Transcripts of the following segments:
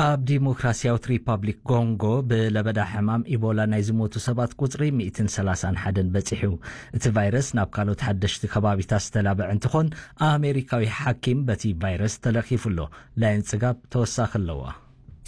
ኣብ ዲሞክራሲያዊት ሪፓብሊክ ኮንጎ ብለበዳ ሕማም ኢቦላ ናይ ዝሞቱ ሰባት ቁጽሪ ሚእትን ሰላሳን ሓደን በጺሑ። እቲ ቫይረስ ናብ ካልኦት ሓደሽቲ ከባቢታት ዝተላበዐ እንትኾን፣ ኣሜሪካዊ ሓኪም በቲ ቫይረስ ተለኺፉ ኣሎ። ላይን ጽጋብ ተወሳኺ ኣለዋ።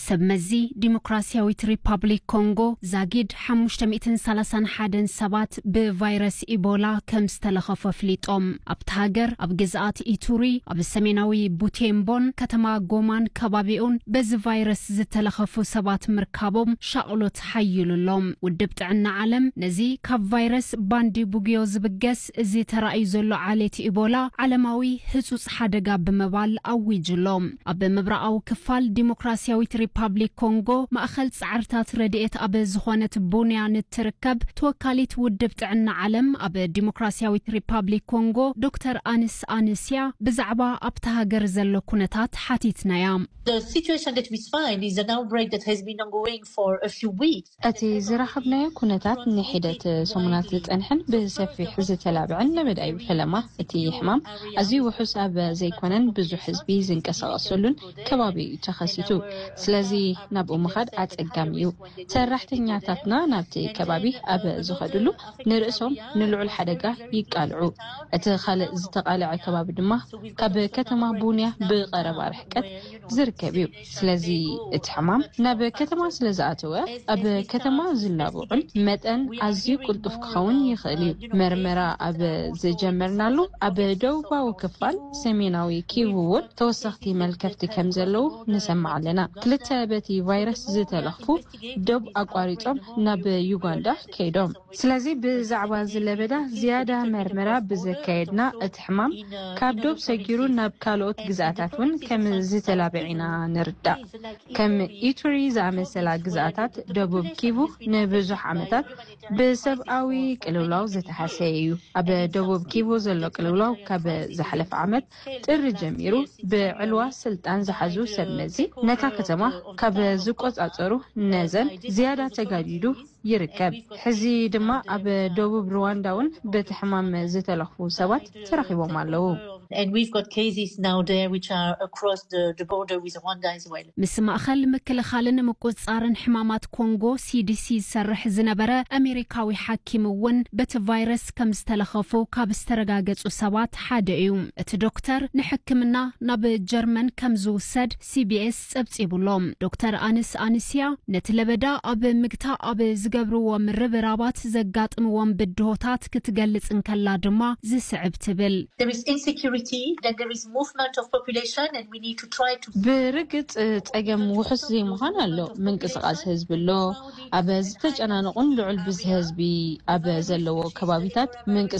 ሰብ መዚ ዲሞክራሲያዊት ሪፓብሊክ ኮንጎ ዛጊድ ሓሙሽተ ሚእትን ሰላሳን ሓደን ሰባት ብቫይረስ ኢቦላ ከም ዝተለኸፉ ኣፍሊጦም። ኣብቲ ሃገር ኣብ ግዝኣት ኢቱሪ፣ ኣብ ሰሜናዊ ቡቴምቦን ከተማ ጎማን ከባቢኡን በዚ ቫይረስ ዝተለኸፉ ሰባት ምርካቦም ሻቕሎት ሓይሉ ኣሎ። ውድብ ጥዕና ዓለም ነዚ ካብ ቫይረስ ባንዲ ቡግዮ ዝብገስ እዚ ተራእዩ ዘሎ ዓሌት ኢቦላ ዓለማዊ ህጹጽ ሓደጋ ብምባል ኣዊጁ ኣሎ። ኣብ ምብራቓዊ ክፋል ዲሞክራሲያዊት ሪፓብሊክ ኮንጎ ማእኸል ጻዕርታት ረድኤት ኣብ ዝኾነት ቡንያ ንትርከብ ተወካሊት ውድብ ጥዕና ዓለም ኣብ ዲሞክራሲያዊት ሪፓብሊክ ኮንጎ ዶክተር ኣንስ ኣንስያ ብዛዕባ ኣብታ ሃገር ዘሎ ኩነታት ሓቲትናያ። The situation that we find is an outbreak that has been ongoing for a few weeks. እቲ ዝረኸብናዮ ኩነታት ንሒደት ሰሙናት ዝጸንሐን ብሰፊሕ ዝተላብዐን ለበዳ እዩ። ፈለማ እቲ ሕማም ኣዝዩ ውሑስ ኣብ ዘይኮነን ብዙሕ ህዝቢ ዝንቀሳቐሰሉን ከባቢ እዩ ተኸሲቱ። ስለዚ ናብኡ ምኻድ ኣጸጋሚ እዩ። ሰራሕተኛታትና ናብቲ ከባቢ ኣብ ዝኸድሉ ንርእሶም ንልዑል ሓደጋ ይቃልዑ። እቲ ካልእ ዝተቓልዐ ከባቢ ድማ ካብ ከተማ ቡንያ ብቐረባ ርሕቀት ዝርከብ እዩ። ስለዚ እቲ ሕማም ናብ ከተማ ስለ ዝኣተወ ኣብ ከተማ ዝላብዑን መጠን ኣዝዩ ቅልጡፍ ክኸውን ይኽእል እዩ። መርመራ ኣብ ዝጀመርናሉ ኣብ ደቡባዊ ክፋል ሰሜናዊ ኪቡ እውን ተወሰኽቲ መልከፍቲ ከም ዘለዉ ንሰምዕ ኣለና። ክልተ በቲ ቫይረስ ዝተለኽፉ ዶብ ኣቋሪጾም ናብ ዩጋንዳ ከይዶም። ስለዚ ብዛዕባ እዚ ለበዳ ዝያዳ መርመራ ብዘካየድና እቲ ሕማም ካብ ዶብ ሰጊሩ ናብ ካልኦት ግዝኣታት እውን ከም ዝተላብዐ ኢና ንርዳእ። ከም ኢቱሪ ዝኣመሰላ ግዝኣታት ደቡብ ኪቡ ንብዙሕ ዓመታት ብሰብኣዊ ቅልውላው ዝተሃሰየ እዩ። ኣብ ደቡብ ኪቡ ዘሎ ቅልውላው ካብ ዝሓለፈ ዓመት ጥሪ ጀሚሩ ብዕልዋ ስልጣን ዝሓዙ ሰብ መዚ ነታ ከተማ ካብ ዝቆጻጸሩ ነዘን ዝያዳ ተጋዲዱ ይርከብ። ሕዚ ድማ ኣብ ደቡብ ሩዋንዳ እውን በቲ ሕማም ዝተለኽፉ ሰባት ተረኺቦም ኣለዉ። And we've got cases now there which are across the, the border with Rwanda as well. ምስ ማእኸል ምክልኻልን ምቁጽጻርን ሕማማት ኮንጎ ሲዲሲ ዝሰርሕ ዝነበረ ኣሜሪካዊ ሓኪም እውን በቲ ቫይረስ ከም ዝተለኸፉ ካብ ዝተረጋገጹ ሰባት ሓደ እዩ። እቲ ዶክተር ንሕክምና ናብ ጀርመን ከም ዝውሰድ ሲቢኤስ ጸብጺቡ ኣሎ። ዶክተር ኣንስ ኣንስያ ነቲ ለበዳ ኣብ ምግታ ኣብ ዝገብርዎ ምርብራባት ዘጋጥምዎም ብድሆታት ክትገልጽ እንከላ ድማ ዝስዕብ ትብል። There is insecurity, then there is movement of population, and we need to try to ብርግጽ ጸገም ውሑስ ዘይምዃን ኣሎ። ምንቅስቓስ ህዝቢ ኣሎ። ኣብ ዝተጨናነቑን ልዑል ብዝሒ ህዝቢ ኣብ ዘለዎ ከባቢታት ምንቅስቃስ